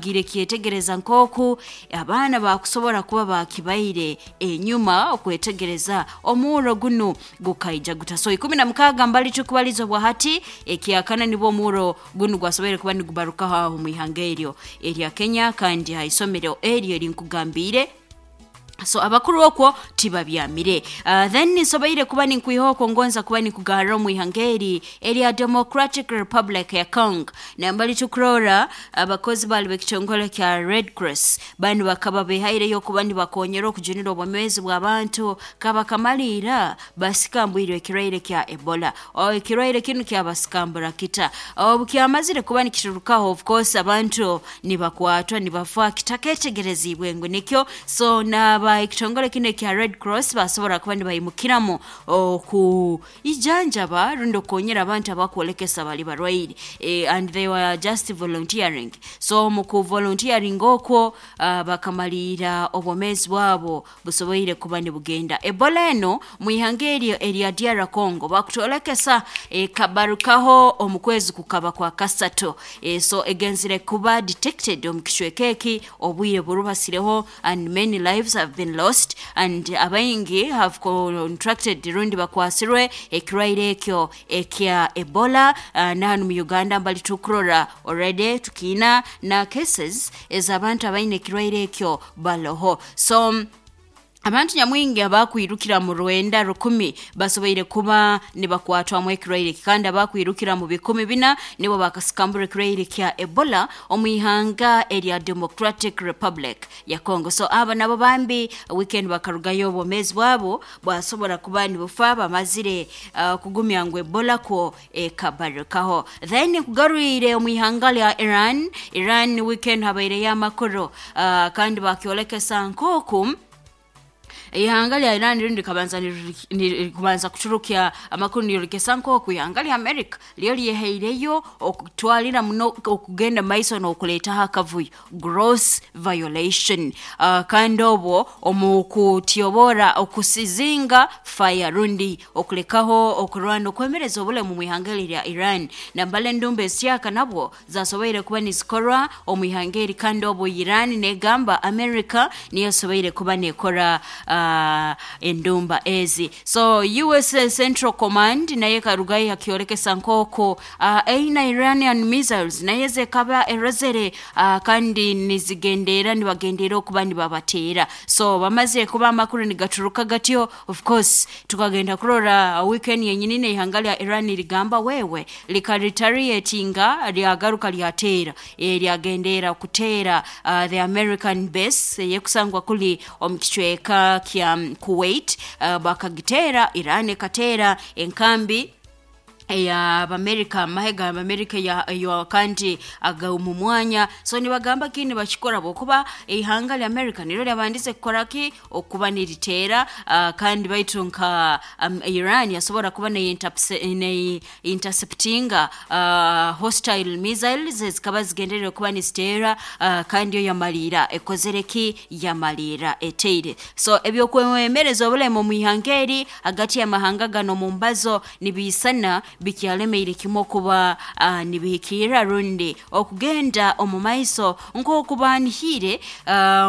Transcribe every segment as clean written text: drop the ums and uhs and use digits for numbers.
Gire kyetegereza nk'oku abaana bakusobora kuba bakibaire enyuma okwetegereza omuuro gunu gukaija guta. So 16 mbali tukubaliza obwa hati ekyakana nibwo omuuro gunu gwasoboire kuba nigubarukaho aho mu ihanga eryo erya Kenya, kandi ha isomero eryo erinkugambiire. So abakuru okwo tibabyamire. Then nsoboire kuba ninkwiha okwo, ngonza kuba ninkugarra omu ihanga eri erya Democratic Republic ya Congo. Nambali tukurora abakozi bali b'ekitongole kya Red Cross banu bakaba behaireyo okuba nibakonyera okujunira obwomeezi bw'abantu kabakamaliira basikambwirwe ekirwaire kya Ebola. Ekirwaire kinu kyabasikambura kita? Obu kyamazire kuba nikiturukaho, of course abantu nibakwatwa nibafa kitaketegerezibwe ngu nikyo. So naba ekitongole kinu ekya Red Cross basobora kuba nibaimukiramu okuijanjaba rundi okukonyera abantu abakwolekesa bali barwaire, and they were just volunteering. So mu kuvolunteering okwo, bakamaliira obwomeezi bwabo busoboire kuba nibugenda. Ebola eno mu ihanga eryo erya DR Congo bakutwolekesa ekabarukaho omu kwezi kukaba kwa kasatu. So egenzire kuba detected omu kicweka eki obwire burubasireho, and many lives have been lost and abaingi have contracted rundi bakwasirwe ekirwaire ekyo ekya Ebola. Nahanu mu Uganda mbali tukurora already tukiina na cases ez'abantu abaine ekirwaire ekyo baloho. So abantu nyamwingi abakwirukira mu 9,000 basoboire kuba nibakwatwamu ekirwaire eki, kandi abakwirukira mu 4,000 nibo bakasikambura ekirwaire kya Ebola omu ihanga erya Democratic Republic ya Congo. So aba nabo bambi weekend bakarugayo obwomeezi bwabo bwasobora kuba nibufa bamazire kugumya ngu Ebola kwo ekabarukaho. Then kugarwire omu ihanga lya Iran. Iran weekend habaireyo amakuru, kandi bakyolekesa nk'oku ihanga lya Iran rindi likabanza kubanza kuturukya amakuru niryolekesa nk'oku ihanga lya America lyo lyehaireyo okutwalira muno okugenda maiso n'okuleetaho akavuyo, gross violation, kandi obwo omu kutyobora okusizinga fire rundi okulekaho okurwana okwemereza obulemu mu ihanga eri lya Iran. Nambala endumba ezikyaka nabwo zasoboire kuba nizikorwa omu ihanga eri, kandi obwo Iran negamba America niyo esoboire kuba nekora endumba ezi. So US Central Command nayo ekarugayo yakyolekesa nk'oku aina Iranian missiles nayo zekaba erozere, kandi nizigendeera nibagendeera okuba nibabateera. So bamazire kuba amakuru nigaturuka gatyo, of course tukagenda kurora weekend yenyini n'ihanga lya Iran ligamba wewe likaretaliatinga, lyagaruka lyateera, lyagendeera kuteera the American base eyekusangwa kuli omu kicweka kya Kuwait. Bakagiteera, Iran ekateera enkambi ey'Abamerika, amahe g'Abamerika eyo kandi aga omu mwanya. So nibagamba ki nibakikora bwokuba ihanga lya America niryo lyabandize kukora ki okuba niriteera, kandi baitu nka Iran yasobora kuba nei interceptinga hostile missiles ezikaba zigenderere kuba niziteera, kandi yo yamaliira ekozere ki, yamaliira eteire. So ebyokwemereza obulemu omu ihanga eri hagati y'amahanga gano mu mbazo nibiisana bikyalemeire kimu okuba nibihikirra rundi okugenda omu maiso nk'oku banihire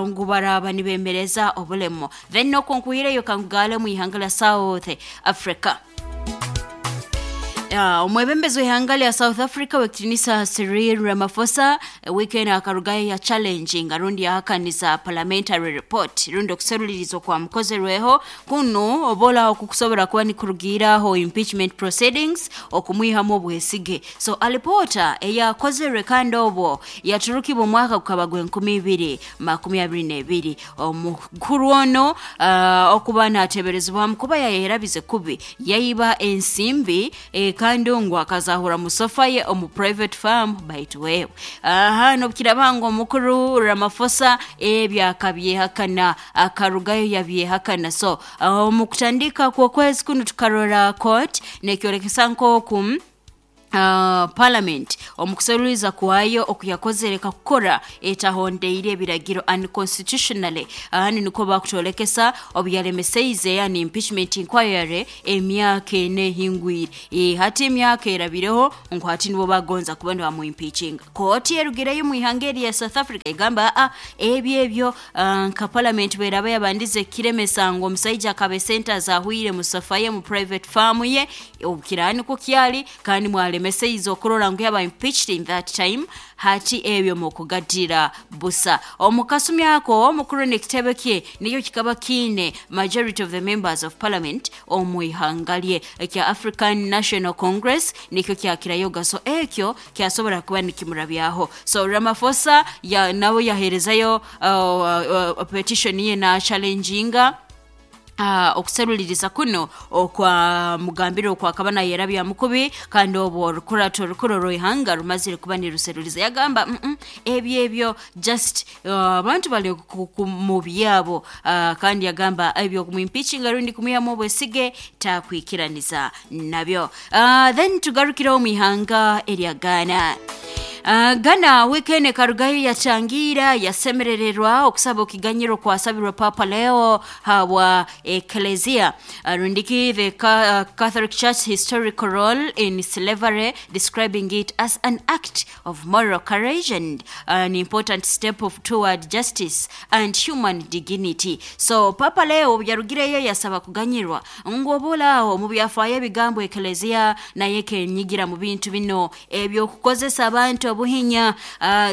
ngu baraaba nibemereza obulemu. Then nokwo nkuhireyo kankugaale omu ihanga lya South Africa. Omwebembezi w'ihanga lya South Africa w'ekitiinisa Cyril Ramaphosa weekend akarugayo ya challenging rundi yahakaniza parliamentary report rundi okuseruliriza okwamukozerweho kunu obola okukusobora kuba nikurugiiraho impeachment proceedings okumwihamu obwesige. So alipoota eyakozerwe kandi obwo yaturukibwa omwaka gukaba gw'2022, omukuru ono okuba nateberezebwamu kuba yayerabize kubi yaiba ensimbi, kandi ngu akazahura mu sofa ye omu private farm. Baitu wewe aha nobukiraba ngu omukuru Ramaphosa ebyo akabyehakana, akarugayo yabyehakana. So omu kutandika kw'okwezi kunu tukarora court nekyolekesa nk'oku Parliament omukuseruliza kwayo okuyakozere kakukora etahondeire ebiragiro, unconstitutionally. Ahani niko bakutolekesa obuyalemeseize, yani impeachment inquiry, emyaka 4 ehingwire. Hati emyaka erabireho ngu hati nibo bagonza kuba nibamuimpeachinga. Kooti erugireyo mu ihanga eri ya South Africa egamba aa ebyo nka parliament bweraba yabandize kiremesa ngu omusaija akaba esente azahwire mu safa ye, mu private farm ye, obukirani ko kyali kandi mwalemeseize okurora ngu yaba impeached in that time, hati ebyo mukugatira busa. Omukasumi ako omukuru n'ekitebe kye niyo kikaba kiine majority of the members of parliament omu ihanga lye ekya African National Congress, nikyo kyakirayoga, so ekyo kyasobora kuba nikimurabyaho. So Ramaphosa ya, nawe yaherezayo petition ye na challenginga okuseruliriza kuno okwa mugambire okwakaba nayerabya mukubi, kandi obwo orukurato orukuru rw'ihanga rumazire kuba niruseruliza. Yagamba ebyo just abantu bali mu byabo, kandi yagamba ebyo kumuimpeachinga rundi kumwihamu obwesige takwikiraniza nabyo. Then tugarukireho mu ihanga erya Ghana. Ghana weekend karugayo yachangira yasemerererwa okusaba okiganyiro kwasabirwa Papa Leo habwa ecclesia, rundiki the Catholic Church historical role in slavery, describing it as an act of moral courage and an important step toward justice and human dignity. So Papa Leo yarugireyo yasaba kuganyirwa ngu obulaawo mu byafaayo ebigambo ecclesia naye kenyigira mu bintu bino ebyokukozesa abantu obuhinya.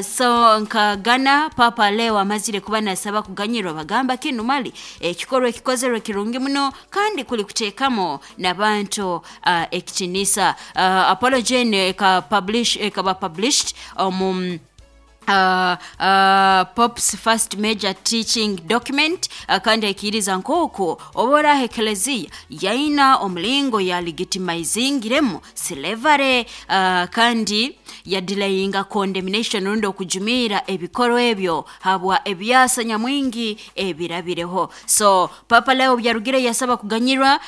So nka Ghana, Papa Leo amazire kuba nasaba kuganyirwa, bagamba kinu mali ekikorwa ekikozerwe kirungi muno kandi kuli kuteekamo n'abantu ekitinisa. Apology ekaba published omu Pope's first major teaching document, kandi aikiriza nk'oku oboraho eklezia yaina omulingo yalegitimizingiremu slavery, kandi yadelayinga condemnation rundi okujumiira ebikorwa ebyo habwa ebyasa nyamwingi ebirabireho. So Papa Leo byarugire yasaba kuganyirwa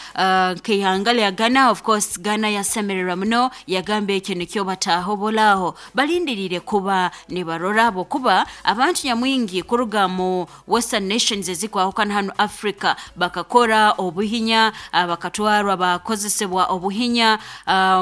nk'ihanga lya Ghana. Of course Ghana yasemererwa muno, yagamba ekyo nikyo bataaho bolaaho balindirire kuba nibarora bokuba abantu nyamwingi kuruga mu western nations ezikwahukana hano Africa bakakora obuhinya, bakatwarwa bakozesebwa obuhinya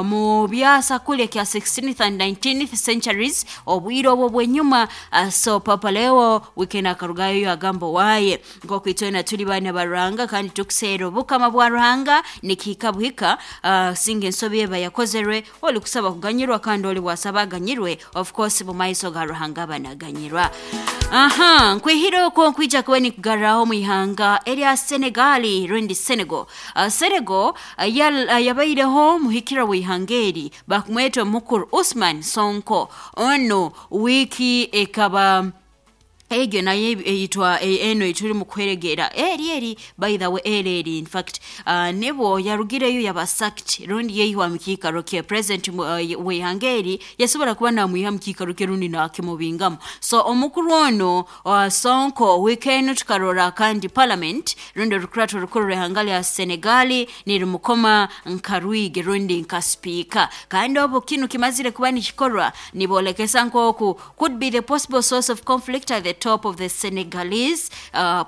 mu byasa kule kya 16th and 19th centuries, obwire obwo bwenyuma. So Papa Leo weekend akarugayo agamba waye nk'okwitwena tuli baana ba Ruhanga kandi tukuseera obukama bwa Ruhanga, nikihika buhika, singa ensobi eba yakozerwe oli kusaba kuganyirwa kandi oli bwasaba aganyirwe, of course mu maiso ga Ruhanga banaganyirwa. Aha nkwihire okwo nkwija kuba nikugarraho mu ihanga erya Senegali rundi Senegal. Senegal yabaireho muhikira w'ihanga eri bakumweta omukuru Usman Sonko. Ono wiiki ekaba egyo nayo eyitwa eno etuli mu kuheregera eri by the way eri in fact, nebo yarugireyo yaba sacked rundi yeihwa mu kiikaro kye. President w'ihanga eri yasobora kuba namwiha mu kiikaro kye rundi nakimubingamu. So omukuru ono Sonko weekend tukarora kandi parliament rundi orukurato orukuru rw'ihanga lya Senegali nirumukoma nka rwige rundi nka speaker, kandi obu kinu kimazire kuba nikikorwa nibolekesa nk'oku could be the possible source of conflict at the top of the Senegalese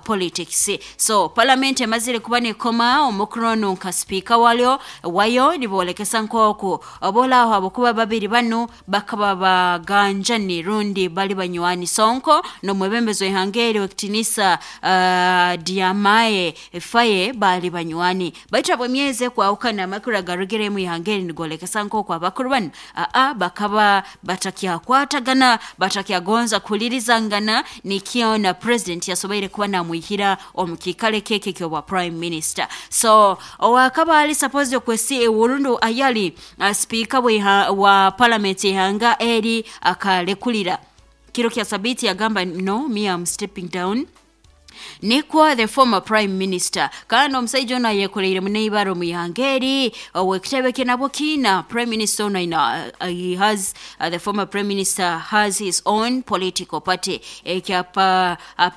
politics. So parliament emazire kuba nekoma omukuru ono nka speaker walyo wayo, nibolekesa nk'oku obolaaho abokuba babiri banu bakaba baganjani rundi bali banywani, Sonko n'omwebembezi w'ihanga eri w'ekitinisa Diomaye Faye bali banywani. Baitu abwemyezi ekwahukana amakuru agarugire mu ihanga eri nigolekesa nk'oku abakuru banu bakaba batakyakwatagana, batakyagonza kuhulirizangana, nikyo na president yasoboire kuba namwihira omu kiikaro ekeke kyobwa prime minister. So owakaba ali supposed okwesi urundu ayali speaker wa parliament ihanga eri akalekulira kiro kya sabiti, yagamba no, me am stepping down. Nikwo the former prime minister, kandi omusaija ono ayekoreire muneibara omu ihanga eri, owekitebe kye nabwo kiina prime minister ono aina, he has the former prime minister has his own political party ekya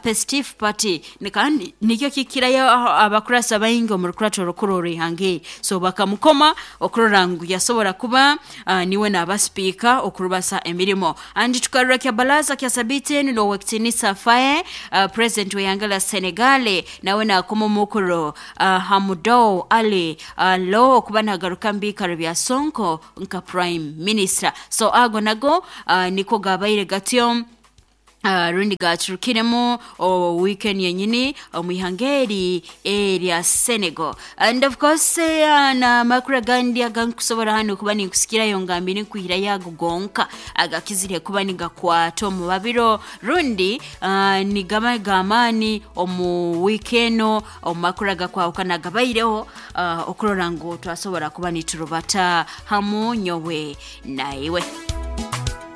Pestif party, kandi nikyo kikirayo abakurasi baingi omu rukurato orukuru orw'ihanga eri. So bakamukoma okurora ngu yasobora kuba niwe naaba sipiika okurubasa emirimo. And tukarora kya baraza kya sabiiti enu n'owekitinisa Faye, president w'ihanga lya Senegal, nawe nakoma omukuru Hamudou Ali Lo okuba nagaruka mu biikaro bya Sonko nka prime minister. So ago nago niko gabaire gatyo, rundi gacurukiremu weekend yenyini omu ihanga eri erya Senegal. And of course n'amakuru agandi agankusobora hano kuba ninkusikirayo ngambire nkwihirayo ago gonka agakizire kuba nigakwata omu babiro rundi nigaba g'amaani omu wiiki eno omu makuru agakwahukana gabaireho, okurora ngu twasobora kuba niturubata hamu nyowe naiwe.